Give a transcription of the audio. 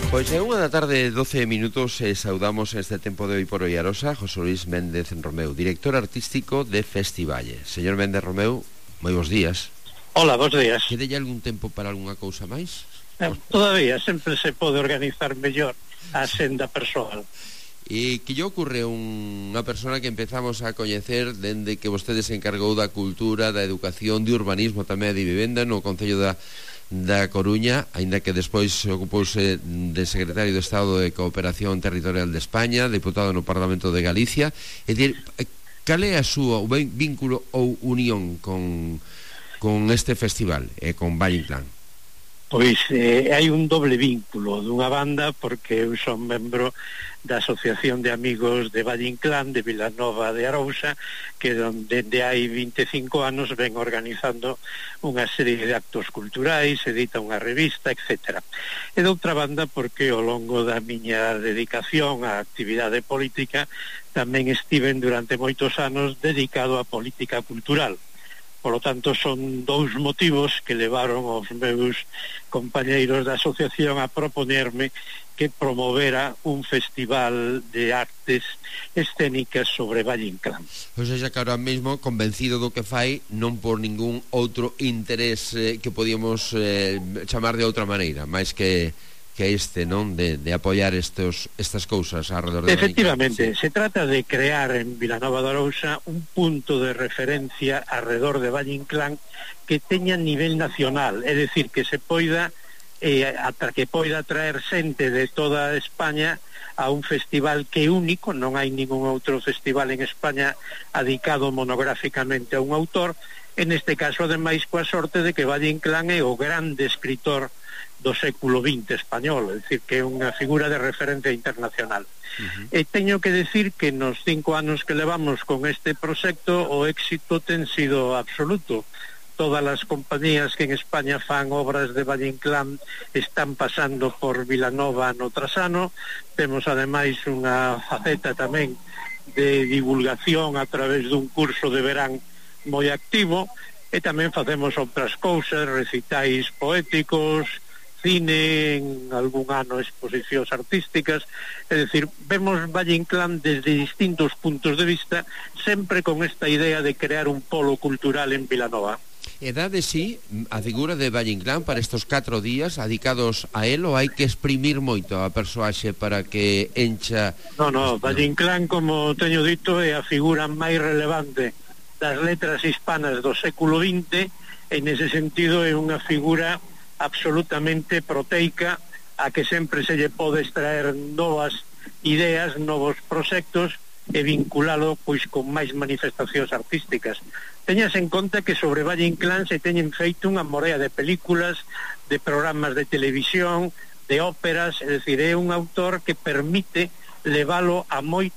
Pois é unha da tarde, 12 minutos, e saudamos este tempo de Hoy por Hoy Arosa José Luis Méndez Romeu, director artístico de Festivalle. Señor Méndez Romeu, moi bons días. Hola, bons días. Quedelle algún tempo para algunha cousa máis? Todavía sempre se pode organizar mellor a senda persoal. E que lle ocorre unha persona que empezamos a coñecer dende que vostede se encargou da cultura, da educación, de urbanismo tamén de vivenda no Concello da Coruña, aínda que despois ocupouse de secretario de Estado de Cooperación Territorial de España, deputado no Parlamento de Galicia. É dicir, cal é a súa vínculo ou unión con este festival e con Valle Inclán? Pois hai un doble vínculo. Dunha banda, porque eu son membro da Asociación de Amigos de Valle Inclán de Vilanova de Arousa, que dende hai 25 anos ven organizando unha serie de actos culturais, edita unha revista, etc. E doutra banda, porque ao longo da miña dedicación á actividade política tamén estiven durante moitos anos dedicado á política cultural. Por lo tanto, son dous motivos que levaron aos meus compañeiros da asociación a proponerme que promovera un festival de artes escénicas sobre Valle Inclán. Ou seja, que ahora mesmo convencido do que fai, non por ningún outro interés que podíamos chamar de outra maneira, máis que este, non? De apoiar estas cousas alrededor de Efectivamente, sí. Se trata de crear en Vilanova de Arousa un punto de referencia alrededor de Valle Inclán que teña nivel nacional, é dicir, que se poida que poida traer xente de toda España a un festival que é único. Non hai ningún outro festival en España dedicado monográficamente a un autor, en este caso ademais coa sorte de que Valle Inclán é o grande escritor do século XX español, é dicir, que é unha figura de referencia internacional. E teño que decir que nos 5 anos que levamos con este proxecto o éxito ten sido absoluto. Todas as compañías que en España fan obras de Valle Inclán están pasando por Vilanova no tras ano. Temos ademais unha faceta tamén de divulgación a través dun curso de verán moi activo, e tamén facemos outras cousas, recitais poéticos, cine, en algún ano exposicións artísticas. É dicir, vemos Valle Inclán desde distintos puntos de vista, sempre con esta idea de crear un polo cultural en Vilanova. E dá de sí a figura de Valle Inclán para estes 4 días dedicados a él, ou hai que exprimir moito a persoaxe para que encha? No, Valle Inclán, como teño dito, é a figura máis relevante das letras hispanas do século XX, e nese sentido é unha figura absolutamente proteica a que sempre se lle pode extraer novas ideas, novos proxectos e vinculalo pois con máis manifestacións artísticas. Teñas en conta que sobre Valle Inclán se teñen feito unha morea de películas, de programas de televisión, de óperas, é dicir, é un autor que permite levalo a moito